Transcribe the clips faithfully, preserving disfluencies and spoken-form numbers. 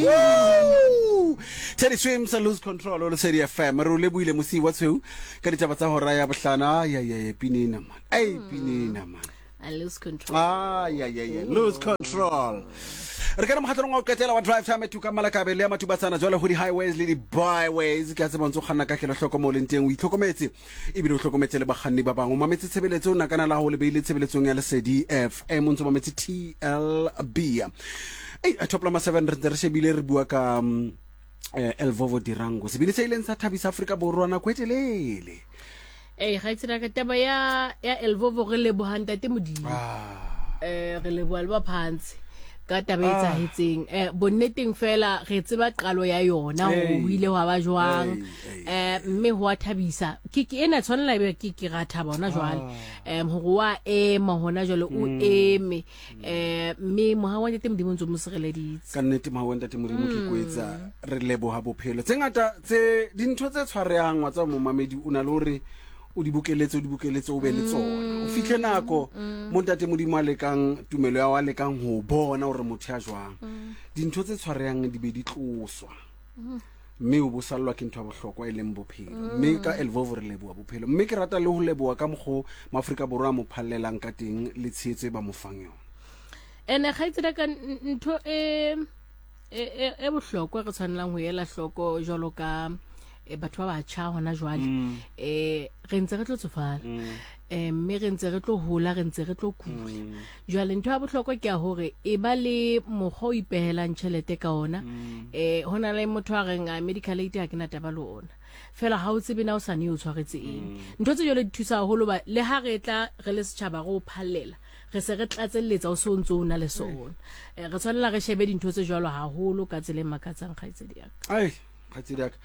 Woo! Teddy Swims Lose Control o Lesedi F M. Re o lebohile mosi wa tshweu ka ditaba tsa hora ya bohlano. Ai ai ai pinina man. Ai pinina man. I lose control. Ai ai ai lose control. Re kana mokgatlong wa ho qetela wa drive time tuka Malakabe le ya Matubatsana jwale ho di highways le di byways. Ke a tseba ntse o kganna ka kelohloko mo leng teng, o itlhokometse ebile o hlokometse le bakganni ba bang. O mametse tshebeletso, o nakana la ho le beile tshebeletsong ya Lesedi F M, o ntse o mametse T L B. Ei, top lama seven re ntse re shebile re bua ka um, eh, Elvovo Dirango, sebini se ileng sa thabisa Afrika Borwa nako e telele. Ei, ga tsena ka taba ya ya Elvovo, re leboha ntate Modimo. Ah. Eh, re leboha le ba phansi ka taba e etsahetseng. Eh, bonneteng fela re tseba qalo ya yona Hey. ho ile hwa ba jwang. Hey, hey. Eh, mme ho a thabisa. Ke ke ena tshwanela ebe ke ke ra thaba hona jwale. Ah. Eh, hore wa ema hona jwale o Mm. eme. Eh, mme moha wa ntate Modimo o ntse o mo sireleditse. Ka nnete moha wa ntate Modimo ke kwetsa re leboha bophelo. Tse ngata tse dintho tse tshwarehang wa tsa momamedi o na le hore o di bokeletse, o di bokeletse, o be le tsona. O fihle nako mo ntate Modimo a lekang tumelo ya wa lekang ho bona hore motho ya jwang. Dintho tse tshwarehang di be di tloswa. Mme o bo sallwa ke ntho ya bohlokwa e leng bophelo. Mme ka Elvovo re leboha bophelo. Mme ke rata le ho leboha ka mokgo Maafrika Borwa a mo phallelang ka teng le tshehetso e ba mo fang yona. Ene kgaitsedi ka ntho e e e, e bohlokwa re tshwanelang ho ela hloko jwalo ka e batho ba batjha hona jwale. Mm. Eh, re ntse re tlo tsofala. Mm. Eh, mme re ntse re tlo hola, re ntse re tlo kula. Mm. Jwale ntho ya bohlokwa ke ya hore e ba le mokgwa o ipehelang tjhelete ka ona. Mm. Eh, hona le motho a reng a medical aid ha ke na taba le ona. Fela ha o tsebe na o sa ne o tshwaretse eng. Mm. Ntho tse jwalo di thusa haholo ba le ha re tla re le setjhaba re o phallela, re se re tlatselletsa o so ntse o na le sona. Eh, re tshwanela re shebe dintho tse jwalo haholo ka tsela e makatsang kgaitsedi ya ka. Ai, kgaitsedi ya ka.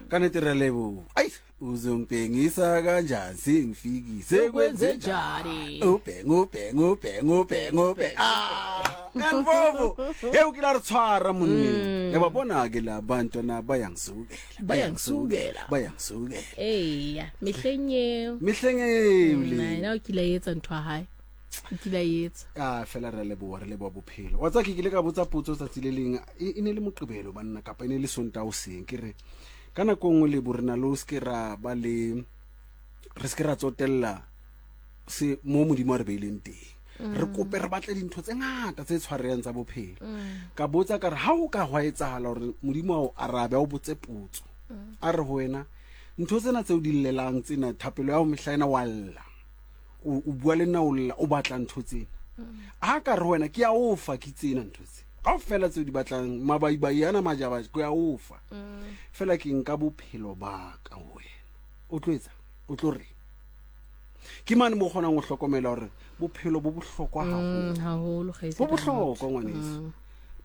Ka nnete re leboha. Ai, uzompengisa kanjani sengifikise Kwenze njani? Ubheng, ubheng, ubheng, ubheng, ubheng. Ah, Elvovo. Hey, o kile a re tshwara monneng. Mm. E ba bona ke la bantwana bayangisukela, Bayangisukela. bayangisukela. Eya, mehleng eo. Mehleng eo le. Mm, na o kile a etsa ntho ya hae. O kile a etsa. Ah, fela re leboha, re leboha bophelo. Wa tseba ke kile ka botsa potso tsatsi le leng, e, e ne le Moqebelo banna kapa e ne le Sontaha hoseng, ke re ka nako e nngwe le bo rena le o se ke ra ba le, re se ke ra tsotella se mo Modimo a re beileng teng. Re kope re batle dintho tse ngata tse tshwarehang tsa bophelo. Mm. Ka botsa ka re ha o ka hwa etsahala hore Modimo a o arabe, a o botse potso. Mm. A re ho wena, ntho tsena tseo di llelang tsena, thapelo ya ho mehla ena wa lla. O, o bua le nna o lla, o batla ntho tsena. Mm. Ha ka re ho wena, ke a o fa ke tsena ntho tse. Kaofela tseo di batlang, mabaibai ana majaba, ke a o fa. Mm. Fela ke nka bophelo ba ka ho wena. O tlo etsa? O tlo reng? Ke mane mo kgonang ho hlokomela hore bophelo bo bohlokwa haholo. Mm, haholo, kgaitsedi Bo bohlokwa, ngwaneso. Mm.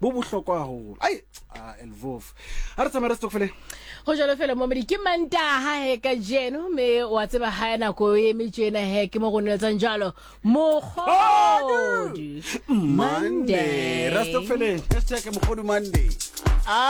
Bo bohlokwa haholo. Ai, ah, Elvovo. Ha re tsamaye re stokfeleng. Ho jwalo fela momedi, ke Mantaha he kajeno, mme wa tseba ha nako e eme tjena he, ke mo go neletsang jalo. Mokgodu Monday. Monday. Re stokfeleng. Hashtag Mokgodu Monday.